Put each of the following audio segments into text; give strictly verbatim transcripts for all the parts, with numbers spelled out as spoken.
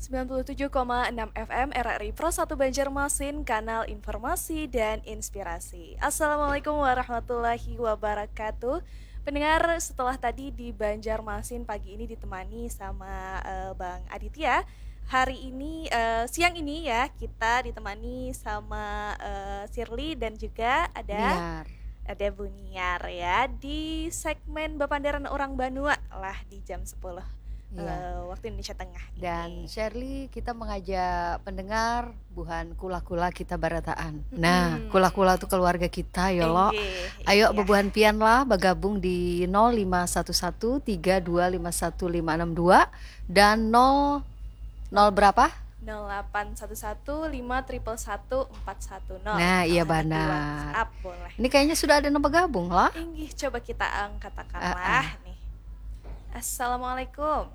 sembilan puluh tujuh koma enam F M R R I Pro satu Banjarmasin, kanal informasi dan inspirasi. Assalamualaikum warahmatullahi wabarakatuh. Pendengar, setelah tadi di Banjarmasin pagi ini ditemani sama, eh, Bang Aditya, hari ini, eh, siang ini ya, kita ditemani sama, eh, Shirley dan juga ada Niar. ada Bu Niar ya di segmen Bapandaran Orang Banua lah di jam sepuluh, Iya. eh, waktu Indonesia Tengah Dan ini. Shirley, kita mengajak pendengar buhan kula-kula kita barataan. Nah, Mm-mm. kula-kula tuh keluarga kita ya lo. Inggih, Ayo iya. Bebuhan pian lah bagabung di nol lima satu satu tiga dua lima satu lima enam dua dan nol, nol berapa? nol delapan satu satu lima triple satu empat satu nol. Nah, iya Kalau hendak di banar. WhatsApp boleh. Ini kayaknya sudah ada yang bergabung lah. Inggih, coba kita angkat Ah, lah nih. Assalamualaikum.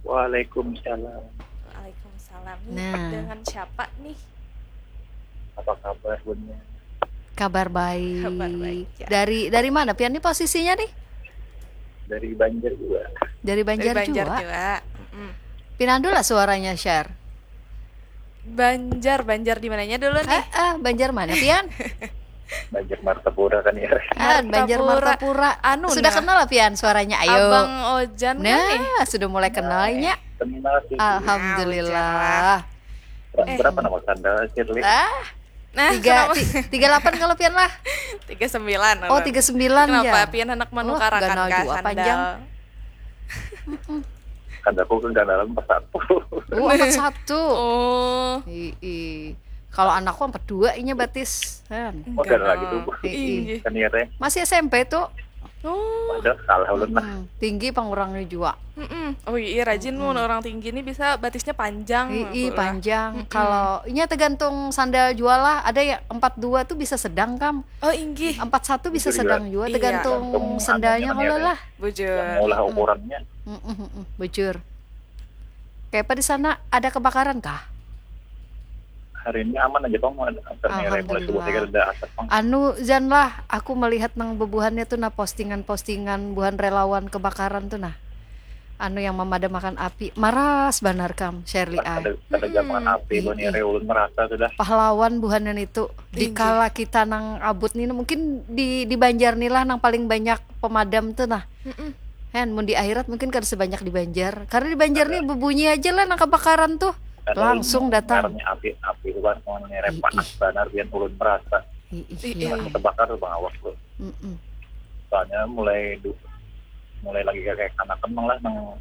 Waalaikumsalam. Waalaikumsalam. Nih, Nah. dengan siapa nih? Apa kabar, Bunda? Kabar baik. Kabar baik, ya. Dari dari mana pian nih posisinya nih? Dari Banjar juga. Dari Banjar, Dari Banjar juga. juga. Mm-mm. Pinandu lah suaranya, Share. Banjar, Banjar di mananya dulu nih? Eh, eh, Banjar mana pian? Banjar Martapura kan ya. Ah, Banjar Martapura. Martapura. Anu Sudah nah. Kenal lah pian suaranya? Ayo. Abang Ojan kan nih? Nah, sudah mulai kenalnya. Kenal sih. Alhamdulillah. Ber- Eh. Berapa nama sandal, Shirley? Ah, Nah, tiga kenapa? ti- tiga delapan kalau pian lah. Tiga sembilan. Oh, tiga sembilan Kenapa ya. Pian anak Oh, manukarakan ganal kah jua sandal? Panjang. Sandalku kegandalan empat satu. Oh, empat satu. Oh, Ii. Kalau anakku empat dua inya batis. Kan. Oh, dan lagi tuh. Ii. Inggih. Kan ya, Teh. Masih S M P tuh. Oh. Padahal kalah ulun lah. Hmm, tinggi pangurangnya juga. Mm-mm. Oh iya, rajin mun orang tinggi ini bisa batisnya panjang. Ii, Pula. panjang. Mm-mm. Kalau inya tergantung sandal jua lah. Ada ya empat dua tuh bisa sedang kam. Oh, inggih. Empat satu bisa Bisa sedang juga. Juga, Iya. tergantung Tergantung sandalnya anunya kalau kan. lah. Bujur. Yang maulah ukurannya. Mm-mm, mm-mm, bujur. Kayak apa di sana, ada kebakaran kah? Hari ini aman aja, Bang. Ada mulai subuh Alhamdulillah. Saya ada asap, Bang. Anu, Jan lah, aku melihat nang bebuhannya tuh nah, postingan-postingan buhan relawan kebakaran tuh nah. Anu yang memadamkan api, maras banar kam, Shirley ai. Ada ada zaman Mm-mm. api, Bang. Ii. Ya, ulun merasa sudah. Pahlawan buhanan itu. Tinggi. Dikala kita nang abut nih, mungkin di di Banjar nih lah nang paling banyak pemadam tuh nah. Mm-mm. Hen, mun di akhirat mungkin kada sebanyak di Banjar. Karena di Banjar nih bebunyi aja lah nang kebakaran tuh. Langsung datang. Karena api, api itu kan mau nyerep Ih, panas ih. Banar, biar ulun merasa. Ih, ih, Ih, iya. ih. Terbakar tuh, Bang, awak tuh. Mm-mm. Soalnya mulai du, mulai lagi kayak anak kembang lah, nang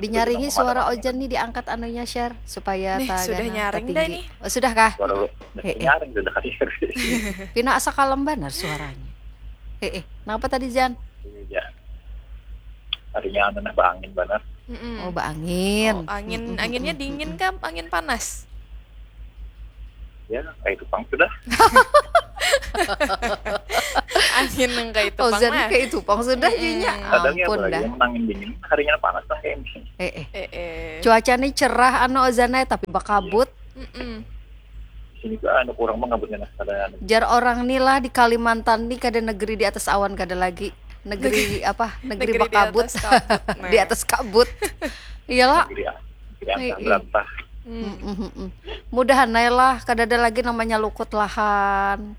Dinyaringi Nang suara pemadam Ojan nih, diangkat anunya, Share, supaya Nih, tak sudah ganal, nyaring tak dah tinggi. Nih. Oh, sudah kah? Suara lu Eh, eh. Nyaring sudah kali. Pina asa kalem banar suaranya. Eh, eh, kenapa tadi, Jan? Iya. Harinya anu nah, baangin banar. Mm-mm. Oh, baangin. Oh, angin, Mm-mm, anginnya mm-mm, dingin mm-mm. Kah? Angin panas? Ya, kayak tupang sudah. Angin yang kayak itu Oh, pang Jan nah. Kayak itu pang sudah Mm-mm. jadinya. Kadang ya, Ampun apalagi dah. Yang angin dingin, harinya panas kan kayak ini. Eh, eh. Eh, eh. Cuaca nih cerah anu Ozan ai, tapi bakabut. Mm-mm. Sini juga anu kurang mengabutnya nah, ada anu. Jar orang nih lah, di Kalimantan nih kada negeri di atas awan kada lagi. Negeri apa? Negeri Negeri di bakabut. Atas kabut, nah. Di atas kabut. Iyalah. Negeri, negeri angka Ih, ih. Berantah. Hmm. Mm-mm, mm-mm. Mudahan ae lah kada ada lagi namanya lukut lahan.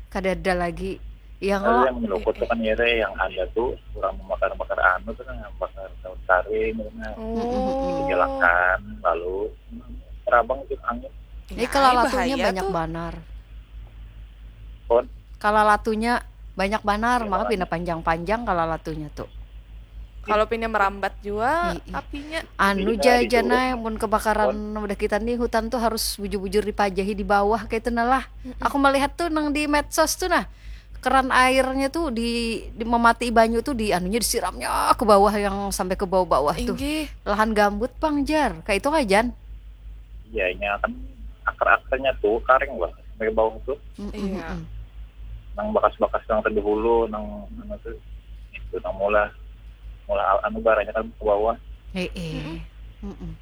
Kada ada lagi. Yang Lalu lo yang melukut tuh kan ya, yang ada tuh kurang membakar-bakar anu tuh kan, bakar daun saring gitu nah. Oh. Gelakan, lalu terabang itu angin. ini Nah, kalalatunya bahaya banyak tuh. Banar. Kon, Kalalatunya banyak banar, Iya, maka Bang. Pina panjang-panjang kalalatunya tuh. Kalau Pina merambat juga Ih, ih. Apinya. Anu Jadi, jajan dulu, ae, mun kebakaran udah kita nih, hutan tuh harus bujur-bujur dipajahi di bawah kayak itu nah lah. Aku melihat tuh nang di medsos tuh nah, keran airnya tuh di, di memati banyu tuh, di anunya disiramnya ke bawah, yang sampai ke bawah-bawah tuh. Inggih. Lahan gambut pang jar, kayak itu kajan. Iya, nya kan akar-akarnya tuh karing lah sampai ke bawah tuh. Mm-mm, Iya. mm-mm. Nang bakas-bakas yang terdahulu, nang mana tuh, itu nang mula mula anu baranya kan ke bawah. Eh, eh. Mm-mm.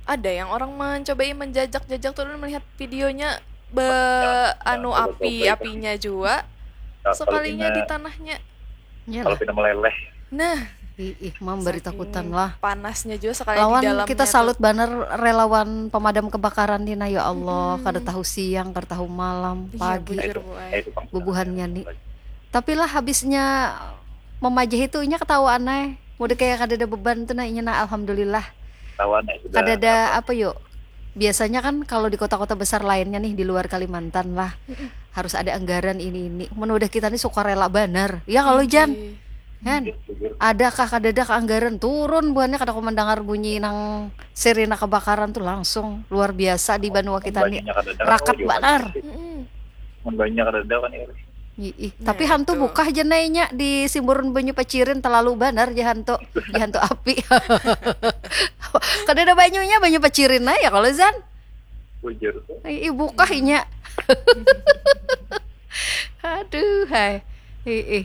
Ada yang orang mencobai menjajak-jajak tuh, melihat videonya be Yang anu coba-coba api itu. Apinya juga. Nah, kalau Sekalinya Pina, di tanahnya. Ya kalau lah. Pina meleleh, Nah, Ih, ih, mam bari takutan lah. Panasnya juga sekali di Lawan dalamnya kita tuh. Salut banar relawan pemadam kebakaran dina, ya Allah, kada tahu siang, kada tahu malam, Iya, pagi. Bujur, Bu, ai. Bubuhannya ni. Tapi lah habisnya memajah itu inya ketawa anai. Mudah kayak kada ada beban tuh nah inya nah, alhamdulillah. Kawan ya sudah. Kada ada apa yuk. Biasanya kan kalau di kota-kota besar lainnya nih di luar Kalimantan lah harus ada anggaran ini ini. Mun udah kita nih suka rela banar. Ya kalau Jan, Ih, kan? Adakah kada ada anggaran turun buhannya kada aku mendengar bunyi nang sirine kebakaran tuh langsung luar biasa di banua kita nih. Banyak ada Rakat oh, banar. mm-mm. Mun banyak ada kan ya. Ih, ih. Nah, Tapi hantu itu. Bukah jenainya di simburan banyu pacirin terlalu banar ja hantu. Di hantu api. Kada ada banyunya, banyu pacirin aja kalau Zan. Bujur tuh. Ih, ih, Bukah inya. Aduh, hai. Ih, ih.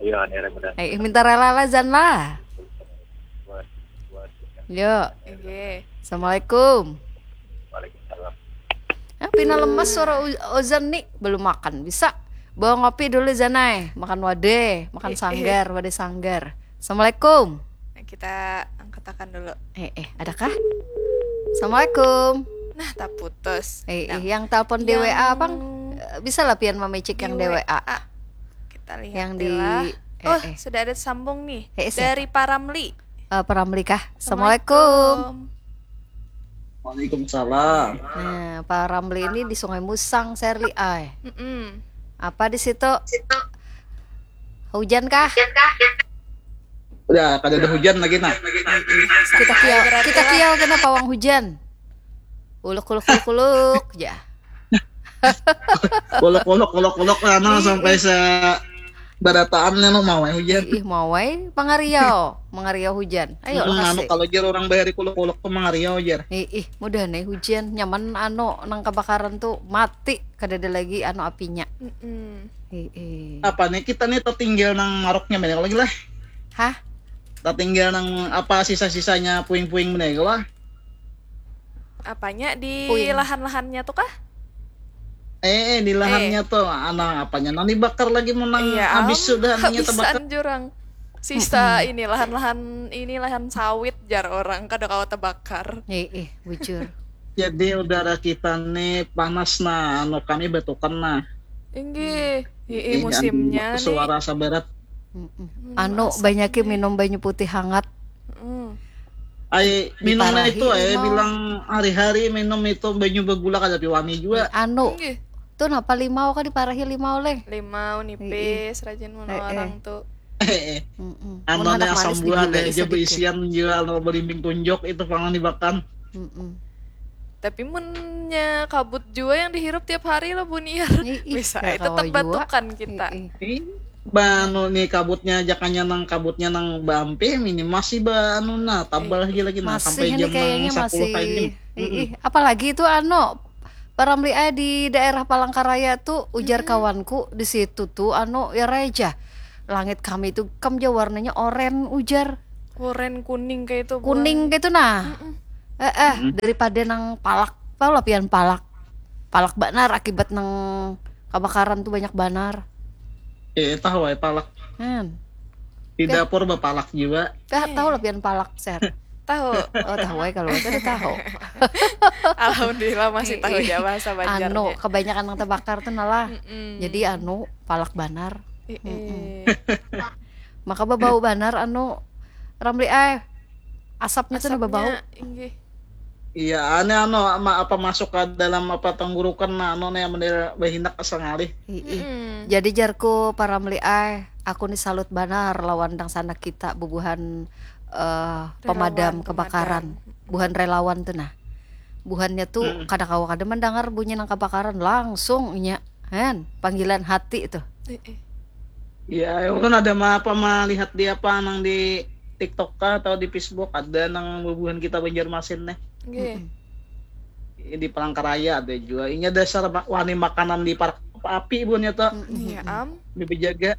Iya, ini ada benar. Ih, ih, minta rela lah Zan lah. Buat buat Yo. Oke. Assalamualaikum. Waalaikumsalam. Ah, pina lemas suara U- Ozan nih, belum makan. Bisa bawa ngopi dulu Zanai, makan wadeh, makan Eh, eh. Sanggar, wadeh Sanggar. Assalamualaikum. Nah, kita angkatakan dulu. Eh, eh, adakah? Assalamualaikum. Nah, tak putus. Eh, Nah, eh, yang telepon di yang W A, Bang. Eh, bisa lah pian memecik di yang di W A. Kita lihat Yang di lah. eh, Oh, eh. Sudah ada sambung nih Eh, eh, siapa? Dari Paramli. Eh, Paramli kah? Assalamualaikum. Waalaikumsalam. Nah, Paramli ini di Sungai Musang, Serli ai. Mm-mm. Apa di situ? Hujan kah? Udah kada ada hujan lagi nah. Kita kiau, kita kiau kena pawang hujan. Uluk uluk uluk uluk ya. Kolok kolok kolok kolok anu sampai se barataan anu mau hujan. Ih, mau wae pangariau, mangariau hujan. Ayo Hmm, lah anu kasih. Kalau jar orang bahari kolok kolok tuh mangariau jar. Ih, ih, mudah nih hujan, nyaman anu nang kebakaran tuh mati, kada ada lagi anu apinya. Mm-mm. Ih, ih. Apa nih kita nih tertinggal nang maroknya banyak lagi lah. Hah? Tertinggal nang apa sisa-sisanya puing-puing banyak lah. Apanya di Puing. Lahan-lahannya tuh kah? Eh, eh, di lahannya tuh anak apanya nang dibakar lagi mau nang Iya, habis am, sudah anunya terbakar. Habisan jurang. Sisa ini lahan-lahan ini lahan sawit jar orang kada kawa terbakar. Ih, ih, bujur. Jadi udara kita nih panas nah, anu kami batukan nah. Inggih, ih, Ih, musimnya anu, nih. Suara sabarat. Mm-mm. Hmm, Anu asik banyaki nih. Minum banyu putih hangat. Mm. Ai minumnya Diparahi itu ai limau. Bilang hari-hari minum itu banyu begula kada piwani juga. Anu, Inggih. Tuh napa limau kah diparahi limau leh? Limau nipis rajin mun Eh, eh. orang tuh. Eh, eh. Mm-mm. Anu Mun handak nih asam manis buah digulai ada aja sedikit. Beisian juga anu belimbing tunjuk itu pangan dimakan. Mm-mm. Tapi munnya kabut jua yang dihirup tiap hari lah buniar. Ih, ih, Bisa ya aja tetap kawa jua. Batukan kita. Ih, ih. Ih, banu nih kabutnya aja kanya nang kabutnya nang bampe ini masih ba anu nah tabal aja lagi nah Masih sampai ini jam kayaknya nang sepuluh masih. kayak gini. Ih, ih. Apalagi itu anu Paramli ai di daerah Palangkaraya tuh ujar kawanku di situ tuh anu ya raja. Langit kami itu kam ja warnanya oren ujar. Oren kuning kayak itu. Kuning gitu nah. Eh, eh, daripada nang palak. Tahu lah pian palak. Palak banar akibat nang kebakaran tuh banyak banar. Eh, tahu ai palak. Kan. Di dapur bapalak juga. Tahu lah pian palak, Ser. Tahu. Oh, tahu ai kalau kada tahu. Alhamdulillah masih tahu aja bahasa Banjarnya. Anu, kebanyakan yang terbakar tuh nalah. Mm-mm. Jadi anu, palak banar. Ih, ih. Maka bebau banar anu Ramli ai. Asapnya tuh nah bebau. Asapnya, inggih. Iya, aneh anu ma- apa masuk ke dalam apa tenggorokan nah anu nih yang bener berhindak asa ngalih. Ih, ih. Mm-mm. Jadi jarku para Ramli ai, aku nih salut banar lawan dangsanak kita bubuhan eh, pemadam Relawan, kebakaran, buhan relawan tuh nah. Buhannya tuh kada kawa kada mendengar bunyi nang kebakaran langsung inya, hen, panggilan hati tuh. Eh, eh. Iya, ulun ada ma apa melihat di apa nang di TikTok kah atau di Facebook ada nang bubuhan kita Banjarmasin nih. Nggih. Di Palangkaraya ada juga. Inya dasar ma- wani makanan di parak api buhannya tuh. Iya, am. Dibejaga.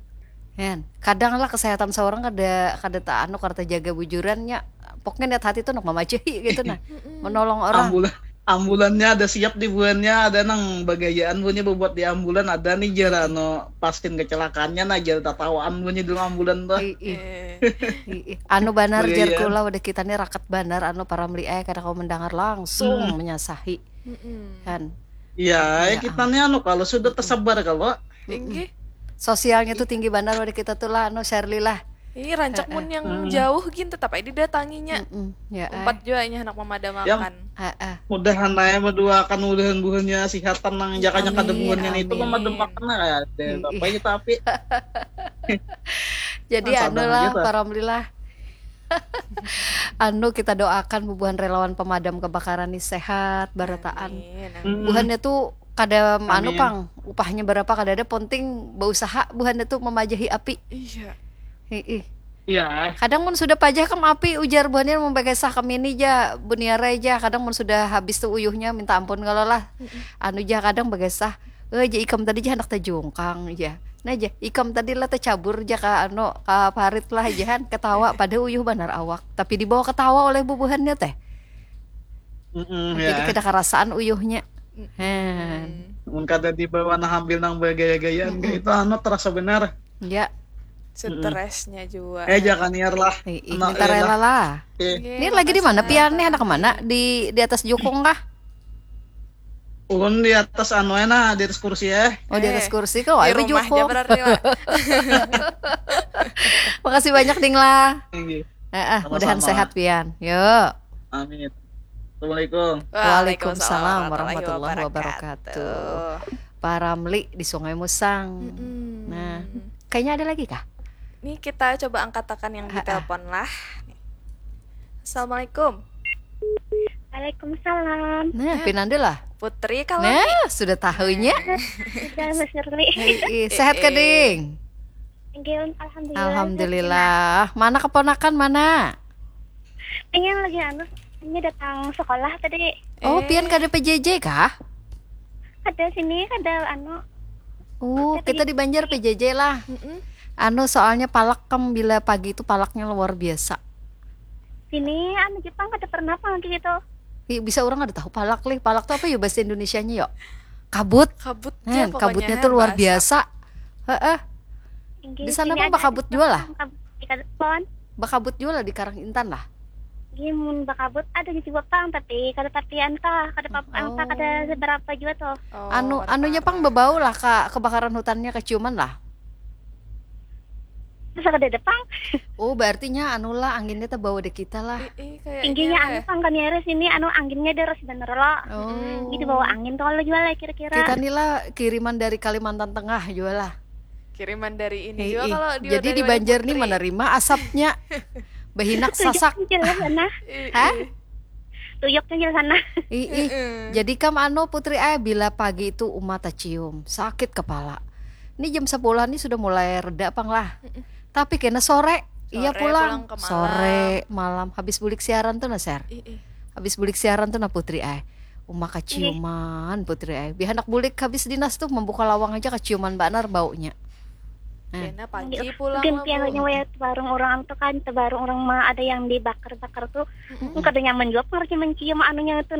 Hen, kadang lah kesehatan seorang kada kada tak anu kada jaga bujurannya. Pokoknya niat hati tuh nak memajahi gitu nah, menolong orang. Ambulan Ambulannya ada siap di buhannya, ada nang bagayaan buhannya bebuat di ambulan, ada nih jar anu pasien kecelakaannya nah jar tatawaan buhannya di dalam ambulan tuh. Ih, ih. Eh, Ih, ih. Anu banar jar Bagayaan. Kula, wadah kita nih rakat banar anu para meliai kada kawa mendengar langsung Hmm. menyasahi mm-mm. Kan. Ya, Ya, kita nih anu kalau sudah tersebar kalau Inggih. Sosialnya tuh tinggi banar, wadah kita tuh lah anu Sherly lah. Ih, rancak mun yang Hmm. jauh gin tetap aja didatanginya. Mm-mm. Ya, eh. Umpat jua inya handak memadamakan. Ah, ah. Mudahan aja berdua akan mudahan buhannya sihatan nang jakanya kada Amin, buhannya itu amin. Memadamakan lah ya. Ada Ih, apa ih. Kita api. Jadi Nah, anu sabar lah, aja, ta. Para Melilah. Anu kita doakan bubuhan relawan pemadam kebakaran nih sehat, barataan. Amin, amin. Hmm. Buhannya tuh kada anu Amin. pang, upahnya berapa kada ada, penting berusaha buhannya tuh memajahi api. Iya. Hiih. Iya. Kadang mun sudah pajah kam api, ujar buhannya membekesah kam ini ja, buniarai ja. Kadang mun sudah habis tuh uyuhnya minta ampun kalau lah. Anu ja kadang begesah. Eh, ja ikam tadi ja handak tajungkang ja. Nah ja, ikam tadi lah tacabur ja ka anu, ka parit lah ja han, ketawa pada uyuh banar awak. Tapi dibawa ketawa oleh bubuhannya teh. Mm-mm, Jadi ya. kada karasaan uyuhnya. Han. Mun kada dibawa nah ambil nang bergaya-gayaan kayak itu anu terasa benar. Ya. Stresnya juga. Eh jangan niar lah. Ih, ih, Anak minta eh, rela lah. lah. Eh, Iya, Ini lagi di mana pasti. pian nih, anak mana? Di di atas jukung kah? Ulun di atas anu eh, nah di atas kursi eh. Oh, di atas Eh, kursi kau di ada rumah aja jukung. Berarti lah. Makasih banyak Ding lah. Inggih. Heeh, Sama-sama. Mudahan sehat pian. Yuk. Amin. Assalamualaikum. Waalaikumsalam warahmatullahi wabarakatuh. Para Meli di Sungai Musang. Mm-mm. Nah, kayaknya ada lagi kah? Nih kita coba angkatakan yang di Ha-ah. Telepon lah. Assalamualaikum. Waalaikumsalam. Nah, pinanda lah. Putri kalau Nah, sudah tahunya. Sudah Mas Nurli. Ih, ih, sehat kah, Ding? Enggih, alhamdulillah. Alhamdulillah. Mana keponakan mana? Ini lagi anu, ini datang sekolah tadi. Oh, Eh. Pian kada P J J kah? Ada sini, ada anu. Oh, kita di Banjar P J J lah. Mm-mm. Anu, soalnya palak kam bila pagi itu palaknya luar biasa. Sini anu Jepang kada pernah apa gitu. Ih, bisa orang ada tahu palak lih. Palak tuh apa ya bahasa Indonesianya yo? Kabut. Kabut Nah, pokoknya, kabutnya ha, tuh luar bahasa. Biasa. Heeh. Enggih, Di sana sini pun ada bakabut di juga lah. Jepang, kabut ikan pon. Bakabut juga lah di Karang Intan lah. Enggih, mun bakabut ada juga pang, tapi kada tapian kah, kada pap angka, kada Oh. seberapa juga tuh. Oh, Anu kada anunya pang parah. bebau lah, Kak, kebakaran hutannya keciuman lah. Masa kada ada pang? Oh, berartinya anu lah, anginnya terbawa di kita lah. Ih, ih, kayaknya Inggihnya lah. Anu pang kami ada sini, anu anginnya deras bener lo. Oh. Gitu bawa angin tuh kalau jual lah kira-kira. Kita nih lah kiriman dari Kalimantan Tengah juga lah. Kiriman dari ini Hei, juga ih. kalau di Jadi dari di Wali Banjar nih Putri. Menerima asapnya. Behinak sasak. Tuyuk sana. Ih, Hah? ih. Tuyuk sana. Ih, ih. Jadi kam anu Putri eh bila pagi itu uma tacium, sakit kepala. Ini jam sepuluh nih sudah mulai reda pang lah. Tapi kena sore, iya Sore pulang. Pulang ke malam. Sore, malam habis bulik siaran tuh nah, Ser. Ih, ih. Habis bulik siaran tuh nah Putri eh. Uma kaciuman Putri eh. Bihanak bulik habis dinas tuh membuka lawang aja kaciuman banar baunya. Eh. Kena pagi pulang Mungkin lah, pian Bu. nyawa ya tebarung orang tuh kan, tebarung orang mah ada yang dibakar-bakar tuh. Kada nyaman juga pengerti mencium anunya itu